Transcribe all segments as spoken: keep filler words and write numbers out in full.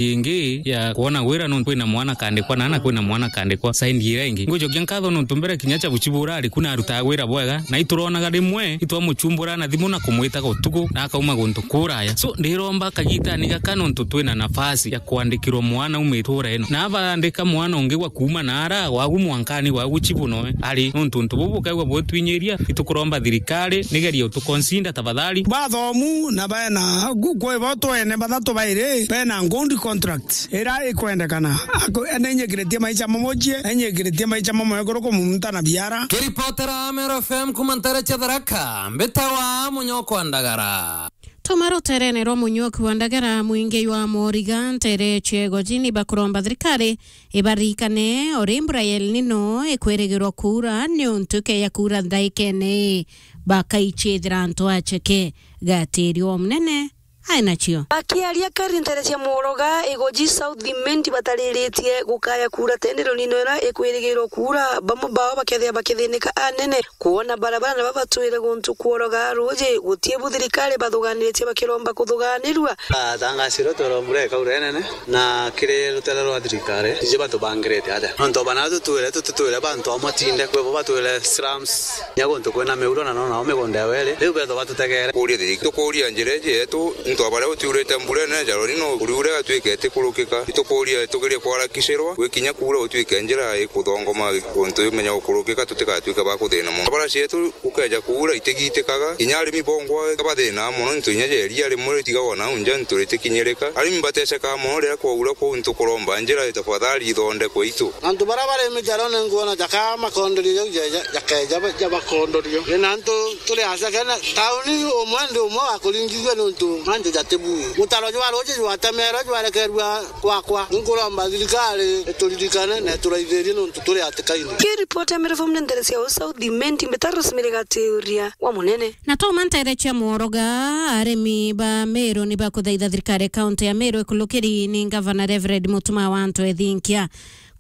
ingi ya kwona wira nontu kwina mwana kandikwa na na kwina mwana kandikwa side ira ingi. Ngwijokia nkatho nontu mbere kinya cha buchibura ari kuna arutaga wira bwega, na ituronaga rimwe itwamuchumbura na thimu na kumwitaga utuku na akauma guntu kuraya. So, ndiromba kagitani gaka nontu twina nafasi ya kwandikirwa mwana uma itura ino. Na abaandika mwana ungi gwa kuuma na ara, wagu mwankani, wagu chibu noe ari. Nontu untu bubu bukaigua bwitwinyiria, itukuromba thirikari nigerie utuconsider tafadhali. Bathomu na bena gu-, kwi bo twene bathatu bairi bena good contract ira ikwendekana. Ako-, ninyikiritie maicha mamochie, ninyikiritie maicha mamoe kuru kumunta na biara. Kiripotera Meru F M kuma ntere cia Tharaka, mbitawa Munyokwa Ndagara. Tuma ruterene rwa Munyokwa Ndagara, mwingi jwa Moriga, ntere cia Igoji, ni bakuromba thirikari ibaririkane uri mbura ya El Nino ikwirigirwa kuura, niuntu ikeeja kuura ndaikene ii, bakaichithira antu acheke. Gatiri o munene ai nacio. Akiaria kari ntere cia Mworoga, Igoji South Imenti batariritie gukaya kuura tene El Nino ira ikwirigirwa kuura, bamwe bao bakethia bakithinika anene. Kwona barabara na babatwire guntu kworoga ruuji, guti bu thirikari bathuganitie bakiromba kuthuganirua. Atangasirwe twirwa mbura ikaura inene, na kiri rutere rwa thirikari, iji batubangirite atia? Nontu bana tutwire, tututwire bantu amwe tinde, kwi bo batwire slums, nya guntu kwina miuro na nonao migunda ya weri, riu bethwa batutegere. Kuuria thirikari, tukuuria njira iji yetu, into baria gutiurite mbura inene, jaro rino uriure igatuika itikurukika. Itukuuria tugerie kwarakicirwa, gwikinya kuura gutwike njira ikuthongoma guntu imenya gukurukika, tutigatuike ba kuthina mono. Barabara cietu gukeja kuura itigitikaga, kinya arimi bongwa bathina mono, into inya ja iria rimwe ritigagwa nau nja, into ritikinyirika. Arimi bateceka mono riria kwaura, kwou ntukuromba njira tafadhali ithondekwe itu. Antu baria bari mijarone nkuona jaka makondorio jau ja, ja, jakeja ba-, jabakondorio. Ina antu turi acakene, tauni umwe ndi umwe wa kuringithua nontu mantu jatibui. Mutaro jwa ruuji jwatemerwe jwarekerua kwakwa. Ninkuromba thirikari ituririkane na ituraithirie nontu turi hatikaine. Kiripoti ya Meru F M ni ntere cia South Imenti, mbita Rosemary Gatiuria wa Munene. Na tuma ntere cia Mworoga, arimi ba Meru ni bakuthaitha thirikari ya kaunti ya Meru ikulukiri ni ngavana Reverend Mutuma wa Antu Ethinkia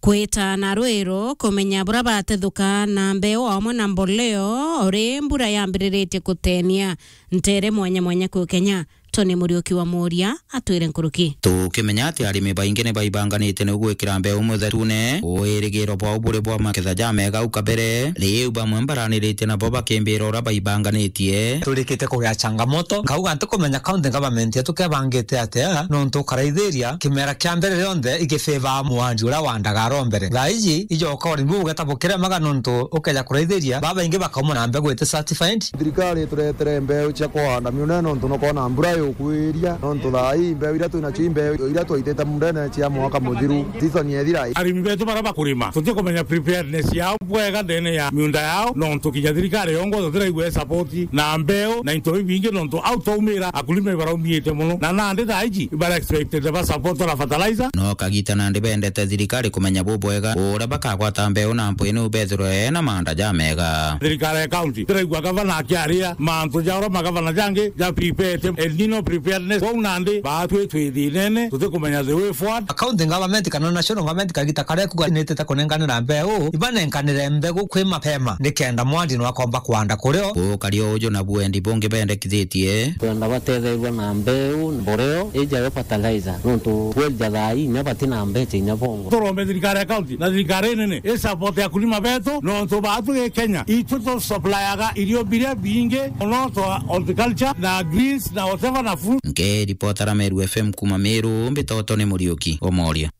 kwita na rwiro kumenya buria batethuka na mbeu amwe na mboleo uri mbura yambiriritie kutenia ntere mwanya mwanya ku Kenya. Tony Muriuki wa Muria atwire nkuruki. Tukimenya ati arimi baingi ni baibanganitie niu gwikira mbeu muthetune, wirigiro bwao buri bwa maketha jamega au kabere, riu bamwe mbaraniritie nabo bakimbira uria baibanganitie. Turikite kugia changamoto, nkauga ntikumenya county government yetu kebangite atia, nontu ukaraithiria kimera kia mbere rionthe igifavor mwandi uria wandaga aro mbere. Thaa iji ijoka urimi buu bugeta bukiremaga, nontu ukeja kuraithiria babaingi bakauma na mbegu iti certified. Thirikari ituretere mbeu cia kuhanda miunene nontu nukwona mbura yukwiria, nontu thaa ii mbeu iria twinacio i mbeu iria twaitite mundene cia mwaka muthiru, season yethira. Arimi betu baria bakurima, tutikumenya preparedness yao bwega ndene ya miunda yao, nontu kinya thirikari yongwa tutiraigua support na mbeu na into bibingi, nontu au twaumira akulima ibaraumiite mono, na nandi thaa iji ibara expected ba support na fertilizer. No kagita nandi bendete thirikari kumenya bubwega uria bakagwata mbeu na mpwini ubethirwe na maanda jamega. Thirikari ya county tiraigua gavana akiaria mantu ja uria magavana jangi ja prepared, El Nino preparedness. Kwou nandi baatwi twi thinene, tutikumenya the way forward. County government kana national government kagita karia kuga nitite kunenganira mbeu, ibanenkanire mbegu kwi mapema nikenda mwandi nwakomba kwanda kurio. Ukari o uju na buendi bungi bendekithitie. Twenda batetherua na mbeu, mboreo, ija yo fertilizer, nontu kweli ja thaa ii inya bati na mbecha inya bongo. Turombe thirikari ya county na thirikari nene i support akulima betu, nontu baatu gi Kenya itu tu supplyaga irio biria bingi mono twa horticulture na greens na whatever na fruit. Nkiripotera Meru F M kuma Meru, mbitoto ni Muriuki Omoria.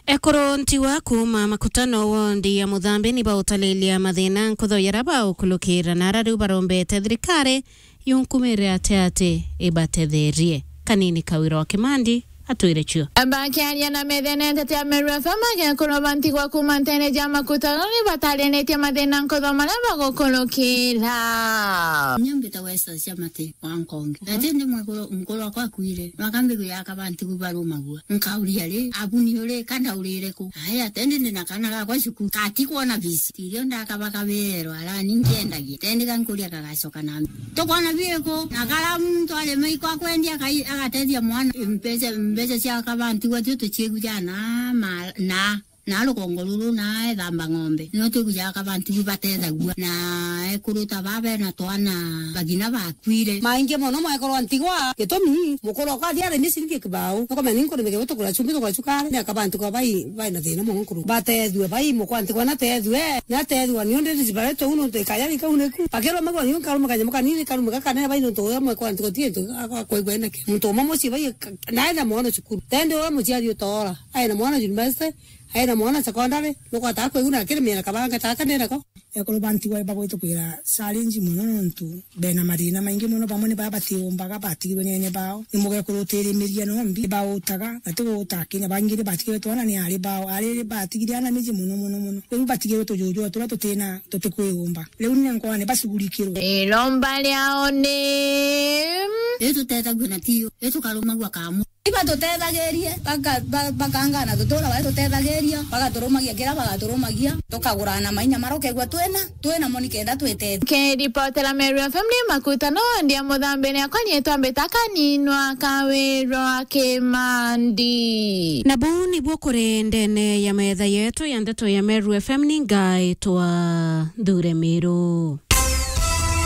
Ekuru ntiwa kuuma Makutano wondi ya Muthambi ni bautalilia mathina nkutho jaria baukulukira na ara riu barombete thirikari yunkumire ati ati ibatetherie. Kanini Kawira wa Kimandi atwire cio. Bakiaria na methene ntete ya Meru F M, agekuru ba ntigwa kuuma ntere ja Makutano ni batariritie mathina nkutho maria bagukulukira. Nyambita West cia mati wa nkonge. Ati ndi mwekuru, mukuru wakwa akuire. Nwakambi kuyaka bantu kubarumagua. Nkauria ri, abu ni uri, ka ndaurire ku? Aya, tendi ndi na kana gakwa cukuru. Kati kwona bisi. Tirio ndakabakabirwa, ara ni nkiendagia. Tendi gankuria kagacoka na. Tukwona biku, na kara muntu ari maiko akwendia akai-, agatethia mwana. Mbeca, mbeca cia kabantu gwa tio tuciegu jana, ma, na. Na rugongo ruru na ethamba ng'ombe. No twigujaga kabanti bu batethagua. Na ekuru ta baba na twana bagina bakwire. Maingi mono mwekorwa ntigwa, gitumi, mukuru okwa athia arimi ciringi kibao. Nokomenya ni nkuru migego tukura chumbi tukura chukari. Ni akabanti kwa bai, bai na thina mono nkuru. Batethue, bai mukwa ntigwa na tethue. Na tethua ni undi ni zibare tu no te kaya ni kau ni ku. Akero magwa ni nkaru makanya mukanini karu mugakane bai no tu mwe kwa ntigwa tie tu akwa kwa igwe nake. Muntu umwe mucii bai ka-, na ena mwana cukuru. Tende uria muciari utora. Aina mwana university, aina mwana secondary, nukwata kwiguna kiri mira kabanga taka nena ko. Ekuru bantigwa bagwitukwira challenge mono nontu bena mathina maingi mono, bamwe ni baa batiumbaga, batigirwe ni ene bao. Ni mugekuru utirimiria nombi, bautaga, na ti guta kinya, bangi ni batigirwe twana ni ari bao, ari batigire ana miji mono, mono, mono. Riu batigirwe tujuju turia tutina, tutikwiyumba. Riu ni nkwa ni bacugurikirwe. Iromba riao ni. Riu tutethagua na tiyo, riu tukarumagua kamu. Ibatutethagirie, baka-, ba-, bakangana tutura baria tutethagiria, bagaturumagia kiria bagaturumagia, tukagurana mainya maria ukegua twina, twinamo nikenda twitethia. Nkiripotera Meru F M ni makutano ndia muthambi ni akwa ni twambita kaninwa kawirwa kimandi. Na buu nibuo kuri ndene ya metha yetu ya ndeto ya Meru F M ni ngaitwa Nthure Miru.